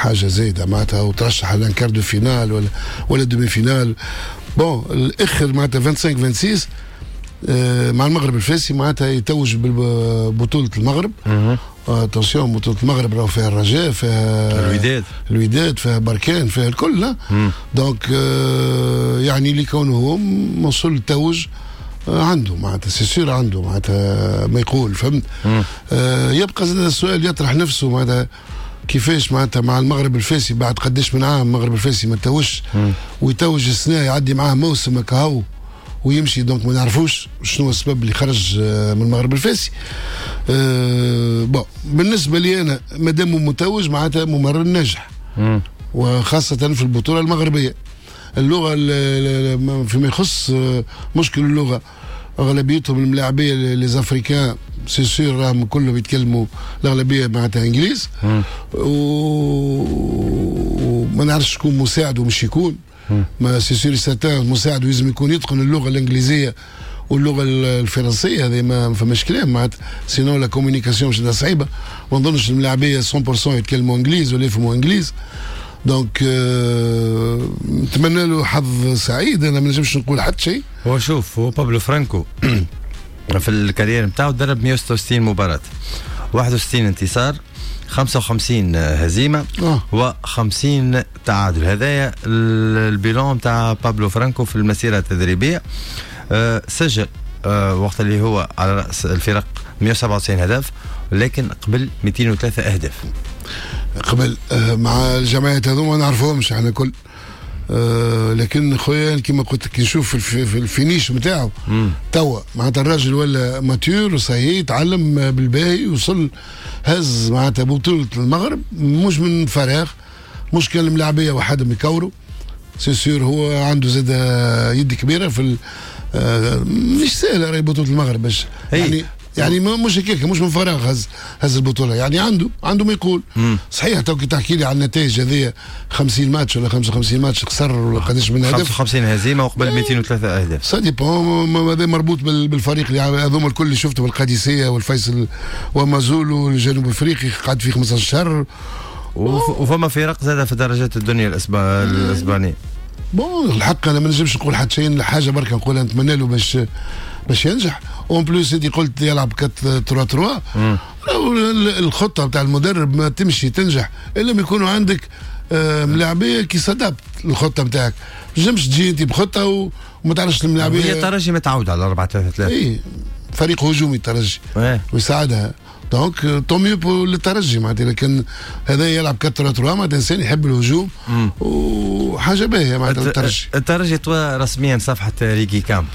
حاجة زايدة معناتها، وترشح على quart de finale ولا demi-finale. bon الاخر معناتها 25 26 مع المغرب الفاسي معناتها يتوج ببطولة المغرب. attention، بطوله المغرب راهو فيها الرجاء، فيها الوداد. الوداد، فيها بركان، فيها الكل. donc يعني اللي كونه هو وصل توج عنده معناتها c'est sûr عنده معناتها ما يقول، فهمت؟ يبقى زاد السؤال يطرح نفسه معناتها كيفاش معناتها مع المغرب الفاسي بعد قداش من عام المغرب الفاسي ما توجش، ويتوج السنة يعدي معاه موسم كهو ويمشي. donc ما نعرفوش شنو السبب اللي خرج من المغرب الفاسي. Bon، بالنسبة لي انا مادام متوج معناتها ممرن ناجح، وخاصة في البطولة المغربيه. اللغه، فيما يخص مشكل اللغه، اغلبيتهم الملاعبيه les Africains c'est sûr راهم كلهم يتكلموا الاغلبية معناتها انجليز، وما نعرفش شكون مساعدة مش يكون، mais c'est sûr certain مساعد لازم يكون يتقن اللغة الانجليزية واللغة الفرنسيه، هذه ما فماش كلام معناتها، sinon la communication مش صعيبه. ما نظنش الملاعبيه 100% يتكلموا انجليز ولا يفهموا انجليز. donc نتمنى له حظ سعيد، انا ما نجمش نقول حتى شيء. هو شوف، هو بابلو فرانكو في ال carrière نتاعو درب 166 مباراة، 61 انتصار، 55 هزيمة و50 تعادل. هذايا ال bilan نتاع بابلو فرانكو في المسيرة التدريبية. سجل وقت اللي هو على رأس الفرق 197 هدف، لكن قبل 203 أهداف. قبل مع الجمعيات هذوما ما نعرفوهمش احنا كل، لكن خويا كما قلت لك نشوف في ال finish نتاعو توا معناتها الراجل ولا mature وصحيح، تعلم بالباهي، وصل هز معناتها بطولة المغرب مش من فراغ، مش كان الملاعبية وحدهم يكوروا. c'est sûr هو عنده زاد يد كبيرة في مش سهلة راهي بطولة المغرب باش يعني مش هكاك، مش من فراغ هز البطوله، يعني عنده ما يقول. صحيح تو كي تحكي لي على النتائج هذه، 50 ماتش ولا 55 ماتش خسر ولا قداش من هدف. 55 هزيمة وقبل 203 اهداف. ça dépend، هذا مربوط بالفريق اللي هذوما الكل اللي شفته، بالقادسيه والفيصل ومازولو الجنوب افريقي قعد فيه 15 شهر. وفما فرق زاد في درجات الدنيا الاسبانيه. bon، الحق انا ما نجمش نقول حتى شيء، حاجة بركة نقولها، نتمنى له باش ينجح. en plus انت قلت يلعب 4 3 3، الخطة بتاع المدرب ما تمشي تنجح الا ما يكونوا عندك ملاعبيه qui s'adaptent الخطة بتاعك. ما تنجمش تجي انت بخطه وما تعرفش الملاعبيه. هي الترجي متعود على 4 3 3. اي، فريق هجومي الترجي ويساعدها، donc tant mieux للترجي معناتها. لكن هذا يلعب 4 3 3 معناتها انسان يحب الهجوم وحاجه باهيه معناتها الترجي. الترجي طوى رسميا صفحة ريكي كامب،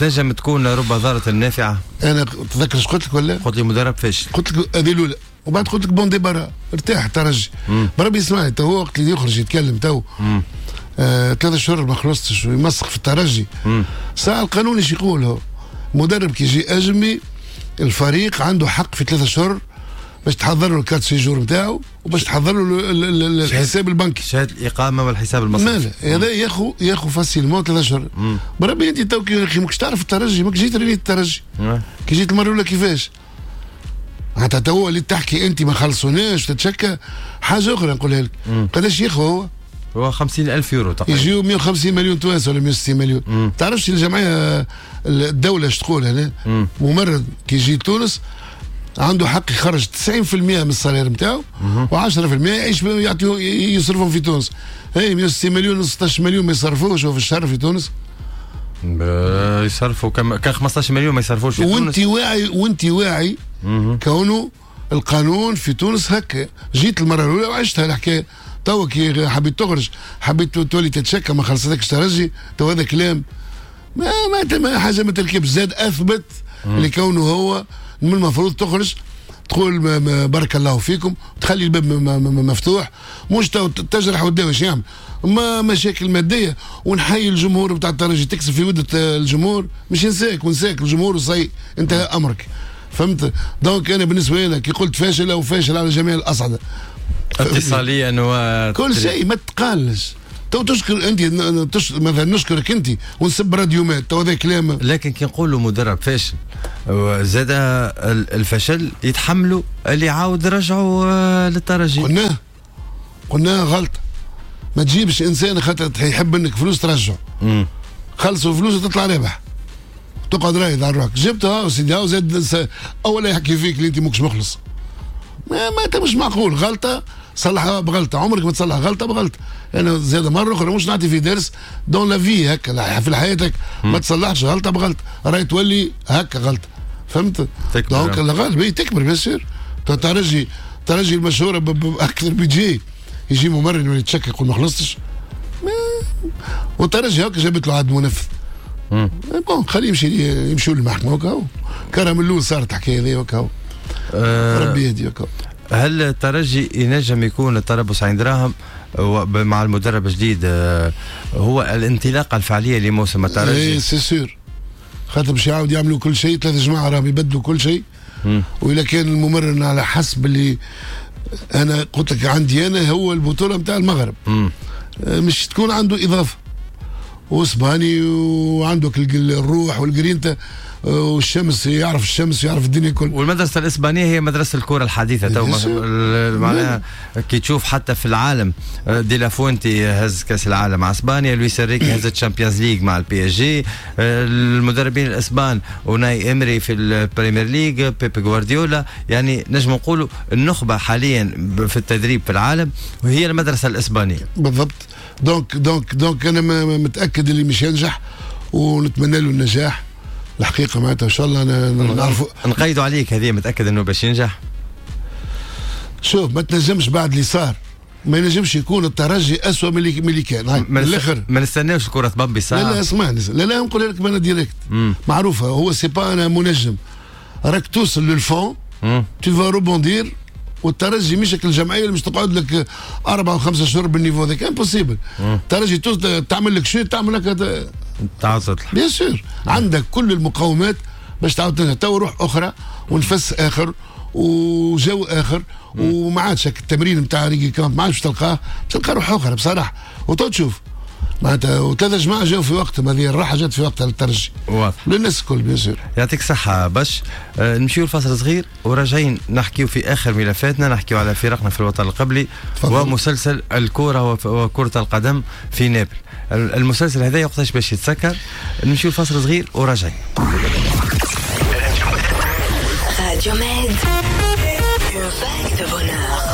تنجم تكون رب ضارة نافعة. انا تذكر ايش قلت لك ولا؟ قلت لي مدرب فاشل. قلت لك هذه الاولى وبعد قلت لك bon débarras، ارتاح الترجي. بربي اسمعني، تو وقت اللي يخرج يتكلم تو 3 شهور ما خلصتش ويمسخ في الترجي. ساعة القانون ايش يقول؟ هو مدرب كي يجي اجنبي الفريق عنده حق في 3 شهور باش تحضر له ال carte séjour نتاعو وباش تحضر له الحساب البنكي. شهادة الاقامة والحساب المصرفي. هذا ياخو facilement 3 شهور. بربي انت تو كي ماكش تعرف الترجي، ماك جيت ريت الترجي كي جيت المرة الاولى كيفاش، حتى تو اللي تحكي انت ما خلصوناش تتشكى. حاجة اخرى نقولها لك، قداش ياخو هو؟ هو 50000 يورو تقريبا. يجيو 150 مليون توانسة ولا 160 مليون. تعرفش الجمعيه، الدولة ايش تقول هنا؟ ممرن كي يجي تونس عنده حق يخرج 90% من ال salaire نتاعو و10% يعيش يعطيه يصرفهم في تونس. هي 160 مليون، 16 مليون ما يصرفوش في الشهر في تونس. يصرفوا كان 15 مليون ما يصرفوش في تونس. وانت واعي كونه القانون في تونس هكا. جيت المرة الاولى وعشتها الحكايه، تو كي حبيت تخرج حبيت تولي تتشكى ما خلصتكش ترجي. تو هذا كلام ما حاجة ما تركبش. زاد اثبت لكونه هو من المفروض تخرج تقول بارك الله فيكم، تخلي الباب مفتوح، مش تجرح وتداوي. يعمل ما مشاكل مادية ونحيي الجمهور بتاع الترجي، تكسب في ودة الجمهور، مش نساك ونساك الجمهور وصي انتهى امرك، فهمت؟ donc انا بالنسبة لي كي قلت فاشل او فاشل على جميع الاصعده. اتصاليا و كل شيء، ما تقالش. تو تشكر انت مثلا نشكرك انت ونسب راديو ماد، تو هذا كلام؟ لكن كي نقولوا مدرب فاشل، زاد الفشل يتحملوا اللي عاود رجعوا للترجي. قلناه. قلنا غلطه، ما تجيبش انسان خاطر يحب منك فلوس ترجعه. خلصوا فلوس وتطلع رابح، تقعد رايد على روحك. جبتها سيدي زاد اولا يحكي فيك اللي انت ماكش مخلص. ما انت مش معقول. غلطه صلحها بغلطه، عمرك ما تصلح غلطه بغلطه. انا زاد مرة اخرى مش نعطي في درس dans la vie هكا في حياتك، ما تصلحش غلطه بغلطه، راهي تولي هكا غلطه، فهمت؟ donc الغالب تكبر bien sûr. ترجي المشهورة باكثر بيجي يجي ممرن ويتشكك يقول ما خلصتش، والترجي هكا جابت له عاد منفذ. bon خليه يمشي، يمشوا للمحكمة وكاو. كرم الاول صارت الحكاية هذه وكاو. ربي يهدي وكاو. هل الترجي ينجم يكون التربص عين دراهم مع المدرب الجديد هو الانطلاقة الفعلية لموسم الترجي؟ اي c'est sûr، خاطر باش يعاود يعملوا كل شيء. 3 جماعة راهم يبدلوا كل شيء. وإذا كان الممرن على حسب اللي انا قلت لك عندي انا هو البطولة نتاع المغرب مش تكون عنده اضافه، واسباني وعنده الروح والجرينتا والشمس، يعرف الشمس يعرف الدنيا الكل. والمدرسة الاسبانية هي مدرسه الكره الحديثة تو، معناها كي تشوف حتى في العالم دي لافونتي هز كاس العالم مع اسبانيا، لويس انريكي هز ال Champions League مع ال PSG، المدربين الاسبان اوناي امري في ال Premier League، بيب غوارديولا، يعني نجم نقولوا النخبة حاليا في التدريب في العالم وهي المدرسة الاسبانية. بالضبط. donc donc donc انا متاكد اللي مش ينجح ونتمنى له النجاح الحقيقة، معناتها ان شاء الله نعرفوا نقيدوا عليك هذه. متاكد انه باش ينجح؟ شوف ما تنجمش بعد اللي صار، ما ينجمش يكون الترجي اسوء من اللي كان. من الاخر ما نستناوش الكره تبمبي ساعة. لا لا اسمعني، لا لا نقول لك انا direct معروفة، هو c'est pas انا منجم، راك توصل لل fond tu vas rebondir. والترجي مش الجمعية اللي مش تقعد لك 4 و5 شهور بال niveau هذاك، impossible. الترجي تعمل لك شيء، تعمل لك تعاود تطلع bien sûr. عندك كل المقومات باش تعاود تنجح. تو روح اخرى ونفس اخر وجو اخر، وما عادش التمرين نتاع ريجي كامب ما عادش تلقاه، تلقى روح اخرى بصراحة. وتو تشوف معناتها وثلاث جماعة جاوا في وقتهم، هذه الراحة جات في وقتها للترجي واضح للناس الكل bien sûr. يعطيك الصحة باش نمشيو لفاصل صغير وراجعين نحكيو في اخر ملفاتنا، نحكيو على فرقنا في الوطن القبلي ومسلسل الكره وكره القدم في نابل. المسلسل هذا وقتاش باش يتسكر؟ نمشيو لفاصل صغير وراجعين. Radio Med, une vague de bonheur.